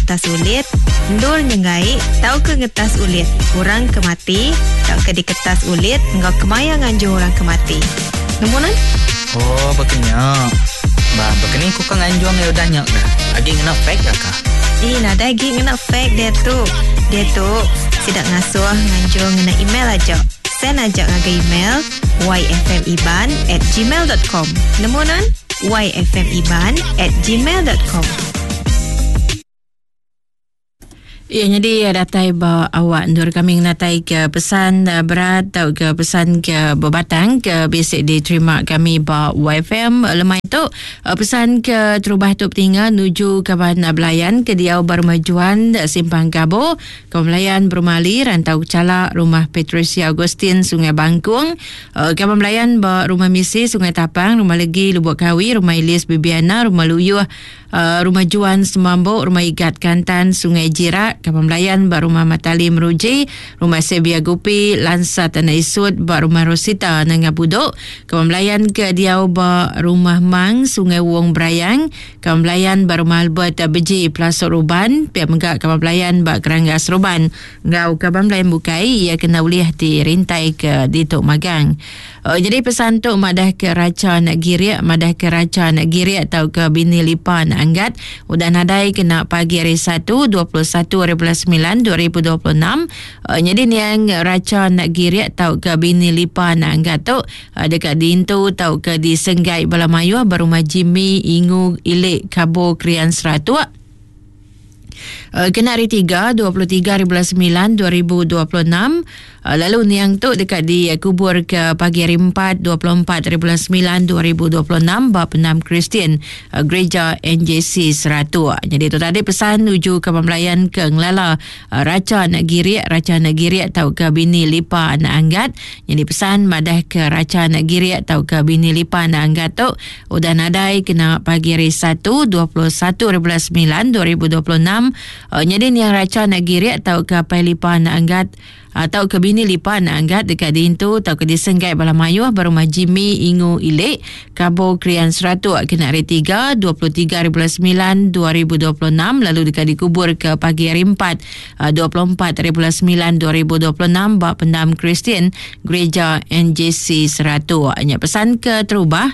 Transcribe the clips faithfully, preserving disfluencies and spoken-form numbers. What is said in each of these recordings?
ngetas ulit, endur nyenggai tauka ngetas ulit orang ke mati tauka diketas ulit enggau kemaya nganjung orang ke mati. Nemu nan? Oh, bekenya. Ba, bekeni ku ka nganjung ya udah nyak dah. Agi ngena fax ya ka? Eh, nadai agi ngena fax dia tu. Dia tu sidak ngasuh nganjung ngena email aja. Send aja ngagai email yfmiban at gmail dot com. Nemu nan? yfmiban at gmail dot com. Ya, jadi datai ba awak ndur kami ngatai ke pesan berat atau ke pesan ke berbatang ke basic diterima kami ba Y F M lemai tu. Pesan ke terubah tu petingga nuju kaban belayan ke diau bermajuan Simpang Gabo, kaban belayan Bermali Rantau Calak Rumah Patricia Agustin Sungai Bangkung, kaban belayan ba Rumah Misi Sungai Tapang, Rumah Legi Lubuk Kawi, Rumah Ilis Bibiana, Rumah Luyuh, Rumah Juan Semambok, Rumah Igat Kantan Sungai Jirak, kaban belayan ba Rumah Matali Meruji, Rumah Sebia Gupi Lansa Tanah Isut ba Rumah Rosita Nanga Budok, kaban belayan ke diau ba Rumah Mang Sungai Wong Berayang, kaban belayan ba Rumah Albert Beji Pelasok Ruban, pihak megak kaban belayan ba Keranggas Ruban, ngau kaban belayan bukai ia kena ulih dirintai ke Ditok Magang. Uh, jadi pesan tu madah ke raca nak giriak, madah ke raca nak giriak atau ke bini lipa nak anggat udah nadai kena pagi hari satu dua puluh satu hari bulan sembilan dua ribu dua puluh enam. Uh, jadi niang raca nak giriak atau ke bini lipa nak anggat tu uh, dekat dintu atau ke di Senggai Balamayuh berumah Jimmy Ingu Ilik Kabo Krian Seratuk. Uh, kena hari tiga, dua puluh tiga hari bulan sembilan dua ribu dua puluh enam. Uh, lalu niang tu dekat di kubur ke pagi hari empat, dua puluh empat hari bulan sembilan dua ribu dua puluh enam bab enam Kristian, uh, Gereja N J C Seratuk. Jadi tu tadi pesan nuju ke pembelayan ke Ngelala, uh, Raca nak giriak, Raca nak giriak tau ke bini lipa nak anggat. Jadi pesan madah ke Raca nak giriak tau ke bini lipa nak anggat tu udah nadai kena pagi hari satu, dua puluh satu hari bulan sembilan dua ribu dua puluh enam. Uh, jadi niang Raca nak giriak tau ke pai lipa nak anggat atau ke bini lipa nak anggat dekat dintu atau ke disenggai Balamayuh berumah Jimmy Ingu Ilik Kabo Krian Seratuk kena hari tiga, dua puluh tiga hari bulan sembilan dua ribu dua puluh enam lalu dekat dikubur ke pagi hari empat, dua puluh empat hari bulan sembilan dua ribu dua puluh enam bab pendam Kristian Gereja N J C Seratuk. Hanya pesan ke terubah.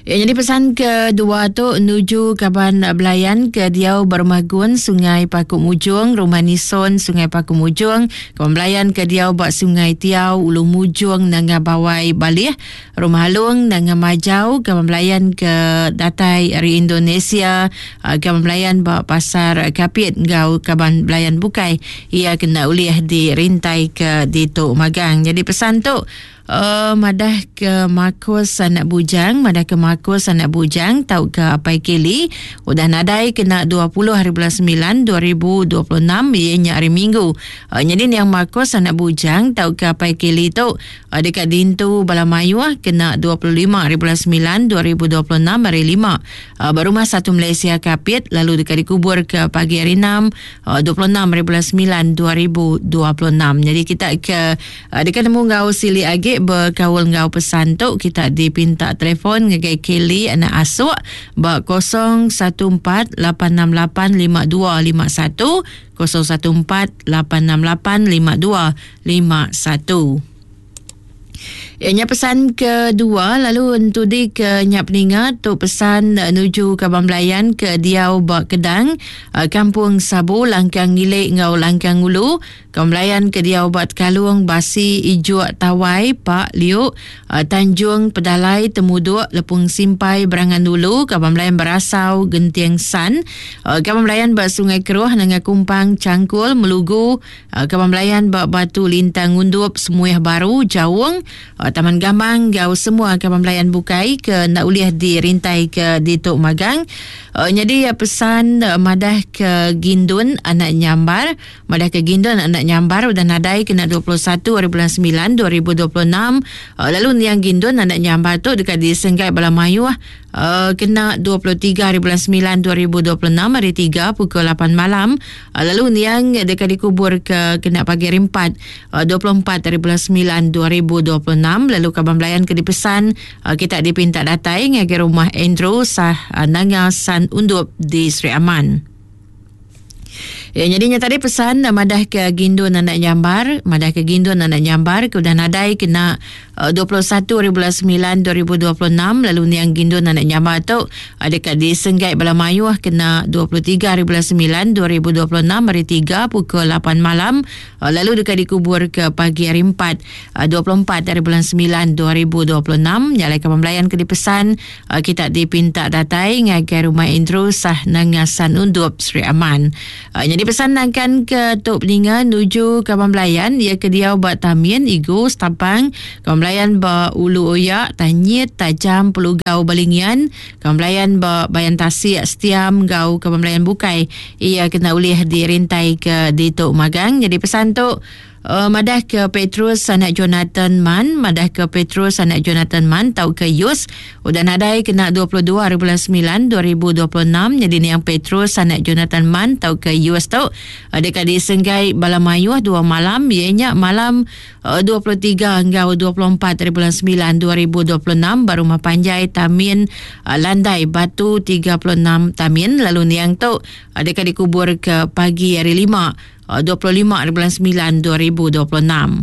Ya, jadi pesan kedua tu nuju kaban belayan ke Diau Bermagun Sungai Paku Mujung, Rumah Nison Sungai Paku Mujung, kaban belayan ke Diau Bak Sungai Tiau Ulu Mujung Nanga Bawai Balih, Rumah Halung Nanga Majau, kaban belayan ke Datai dari Indonesia, kaban belayan Bak Pasar Kapit ngau kaban belayan bukai ia kena uliah dirintai ke Ditok Magang. Jadi pesan tu Uh, madah ke Marcos anak bujang, madah ke Marcos anak bujang tau ke Apai Keli udah nadai kena dua puluh hari bulan sembilan dua ribu dua puluh enam ianya hari Minggu. Uh, jadi yang Marcos anak bujang tau ke Apai Keli tu uh, dekat Dintu Balamayuh kena dua puluh lima hari bulan sembilan dua ribu dua puluh enam hari lima. Uh, berumah satu Malaysia Kapit lalu dekat dikubur ke pagi hari enam, uh, dua puluh enam hari bulan sembilan dua ribu dua puluh enam. Jadi kita ke uh, dekat nemu ngau sili agi berkaul ngau pesan tu kita dipinta telefon ngagai Kelly anak asuk ba kosong satu empat lapan enam lapan lima dua lima satu, kosong satu empat lapan enam lapan lima dua lima satu. Ianya pesan kedua lalu entudi ke nyap peninga tu pesan nuju ke Bamblayan ke Diau Bak Kedang, Kampung Sabu Langkang Ngilik ngau Langkang Ulu, Kamblayan ke Diau Bak Kalung Basi Ijuk Tawai Pak Liuk, Tanjung Pedalai Temuduk Lepung Simpai Berangan Dulu, Kamblayan Berasau Genting San, Kamblayan Bak Sungai Keruh Nanga Kumpang Cangkul Melugu, Kamblayan Bak Batu Lintang Undup Semuih Baru Jawung, Taman Gamang gau semua kaban belayan bukai ke nak uliah dirintai ke Ditok Magang. Uh, jadi pesan uh, madah ke Gindun anak Nyambar, madah ke Gindun anak Nyambar udah nadai kena dua puluh satu hari bulan sembilan dua ribu dua puluh enam. Uh, lalu niang Gindun anak Nyambar tu dekat di Senggai Balamayuh uh, kena dua puluh tiga hari bulan sembilan dua ribu dua puluh enam hari tiga pukul lapan malam. Uh, lalu niang dekat dikubur ke kena pagi hari empat, uh, dua puluh empat hari bulan sembilan dua ribu dua puluh enam. Lalu kaban belayan ke dipesan uh, kita dipinta datai ngagai rumah Andrew Sah uh, Nanga San Undup di Sri Aman. Ya, jadinya tadi pesan madah ke Gindun anak Nyambar, madah ke Gindun anak Nyambar ke udah nadai kena uh, dua puluh satu hari bulan sembilan dua ribu dua puluh enam, lalu niang Gindun anak Nyambar tu uh, dekat di Senggai Balamayuh kena dua puluh tiga hari bulan sembilan dua ribu dua puluh enam hari tiga pukul lapan malam, uh, lalu dekat dikubur ke pagi hari empat uh, dua puluh empat hari bulan sembilan dua ribu dua puluh enam. Nyalai ke pembelayan ke dipesan uh, kita dipinta datai ngagai rumah Andrew Sah Nangasan Undup Sri Aman. Uh, jadi pesan akan ke Tok Peninga nuju Kaban Belayan ia ke diau ba Tamin Igu Setapang, Kaban Belayan ba Ulu Oyak Tanyit Tajam Pelugau Balingian, Kaban Belayan ba Bayan Tasik Setiam gau Kaban Belayan Bukai ia kena ulih dirintai ke di Tok Magang. Jadi pesan tu Uh, madah ke Petrus anak Jonathan Man, madah ke Petrus anak Jonathan Man tau ke Yus udah nadai kena dua puluh dua hari bulan sembilan dua ribu dua puluh enam. Jadi ni yang Petrus anak Jonathan Man tau ke Yus tau uh, dekat di Senggai Balamayuh dua malam, ianya malam uh, dua puluh tiga hingga dua puluh empat hari bulan sembilan dua ribu dua puluh enam baru rumah panjai Tamin uh, Landai Batu tiga puluh enam Tamin, lalu niang tu uh, dekat dikubur ke pagi hari lima dua puluh lima hari bulan sembilan dua ribu dua puluh enam.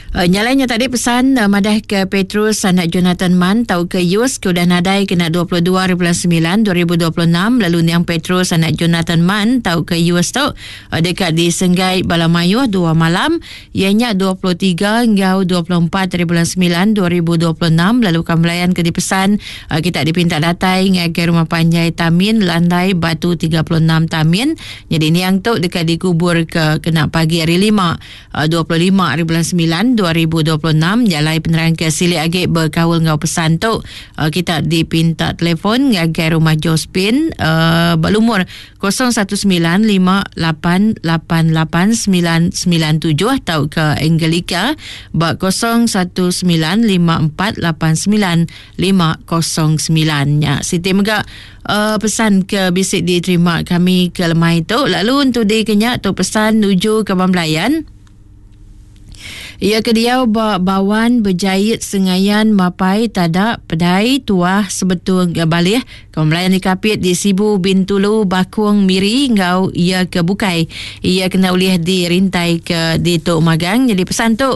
Uh, nyalainya tadi pesan uh, madah ke Petrus anak Jonathan Man tau ke Yus ke udah nadai kena dua puluh dua hari bulan sembilan dua ribu dua puluh enam, lalu niang Petrus anak Jonathan Man tau ke Yus tu uh, dekat di Senggai Balamayuh dua malam, ianya dua puluh tiga hingga dua puluh empat hari bulan sembilan dua ribu dua puluh enam, lalu kambelayan ke dipesan uh, kita dipinta datai ngagai rumah panjai Tamin Landai Batu tiga puluh enam Tamin. Jadi niang tu dekat dikubur ke kena pagi hari lima uh, dua puluh lima hari bulan sembilan dua ribu dua puluh enam. Jalai penerang ke silik agi berkaul ngau pesan tu uh, kita dipinta telefon ngagai rumah Josephine uh, berlumur kosong satu sembilan lima lapan lapan lapan sembilan sembilan tujuh atau ke Angelica bak kosong satu sembilan lima empat lapan sembilan lima kosong sembilan. Ya, Siti mega uh, pesan ke bisik diterima kami ke lemai tu. Lalu untuk di kenyak tu pesan nuju ke Bamblayan. Ia ke diau ba bawan berjahit sengayan mapai tadak pedai tuah sebetul balih kemelayan dikapit di Sibu Bintulu Bakung Miri ngau ia ke Bukai. Ia kena ulih dirintai ke di Tok Magang. Jadi pesan tu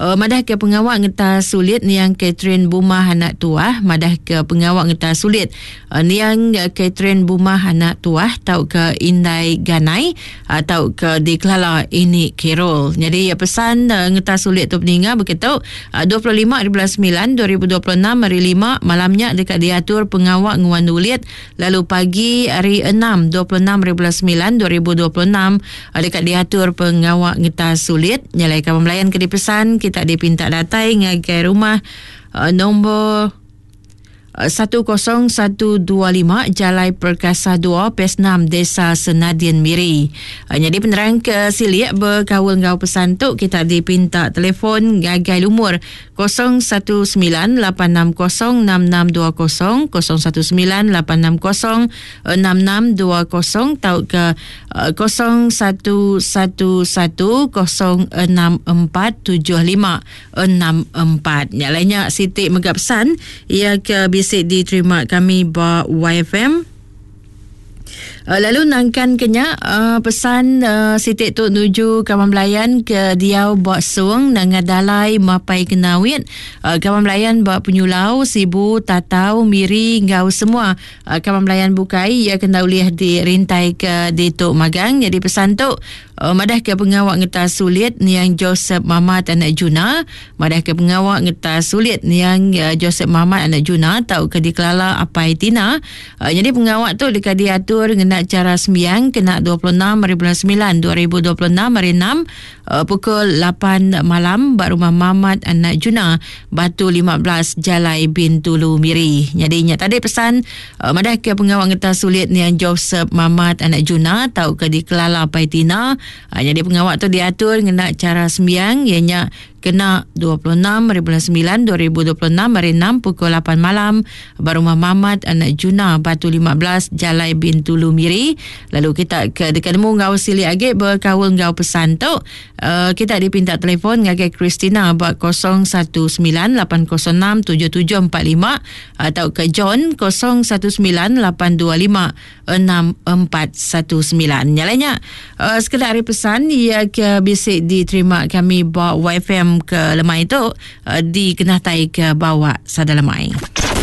Uh, madah ke pengawak ngeta sulit niang Catherine Bumah anak tuah, madah ke pengawak ngeta sulit uh, niang Catherine Bumah anak tuah tau ke Indai Ganai atau uh, ke dikelala ini Carol. Jadi ya, pesan uh, ngeta sulit tu peninga begitu uh, dua puluh lima hari bulan sembilan dua ribu dua puluh enam hari lima malamnya dekat diatur pengawak nguan ulit, lalu pagi hari enam dua puluh enam hari bulan sembilan dua ribu dua puluh enam uh, dekat diatur pengawak ngeta sulit. Nyalai kawan melayan ke dipesan kita dipinta datai ngagai rumah uh, nombor satu kosong satu dua lima Jalai Perkasa dua P S enam Desa Senadin Miri. Uh, jadi penerang ke silik berkaul ngau pesan tu kita dipinta telefon gagai lumur kosong satu sembilan lapan enam kosong enam enam dua kosong kosong satu sembilan lapan enam kosong enam enam dua kosong atau ke uh, kosong satu satu satu kosong enam empat tujuh lima enam empat. Yang lainnya Siti mega pesan ia ke bisik diterima kami ba Y F M. Lalu nangkan kenya uh, pesan uh, sitik tu nuju kawan belayan ke diau bak sung nangadalai mapai kenawit uh, kawan belayan bak penyulau Sibu Tatau Miri ngau semua uh, kawan belayan bukai ia kena ulih dirintai ke di Tok Magang. Jadi pesan tu uh, madah ke pengawak ngeta sulit niang Joseph Mamat anak Juna, madah ke pengawak ngeta sulit niang uh, Joseph Mamat anak Juna tau ke dikelala Apai Tina. Uh, jadi pengawak tu dekat diatur ngena cara sembiang kena dua puluh enam hari bulan sembilan dua ribu dua puluh enam hari enam uh, pukul lapan malam bak rumah Mamat anak Juna Batu lima belas Jalai Bintulu Miri. Jadi ingat tadi pesan uh, madah ke pengawak ngeta sulit niang Joseph Mamat anak Juna tau ke dikelala Apai Tina. Uh, jadi pengawak tu diatur ngena cara sembiang ianya Kena dua puluh enam hari bulan sembilan dua ribu dua puluh enam hari enam pukul lapan malam ba rumah Mamat anak Juna Batu lima belas Jalai Bintulu Miri. Lalu kita ke dekat nemu ngau silik agi berkaul ngau pesan tu, uh, kita dipinta telefon ngagai Christina ba kosong satu sembilan lapan kosong enam tujuh tujuh empat lima atau ke John kosong satu sembilan lapan dua lima enam empat satu sembilan. Nyalanya uh, sekedar hari pesan ia ke bisik diterima kami ba Y F M ke lemai tu uh, di Kenatai ke bawah sada lemai.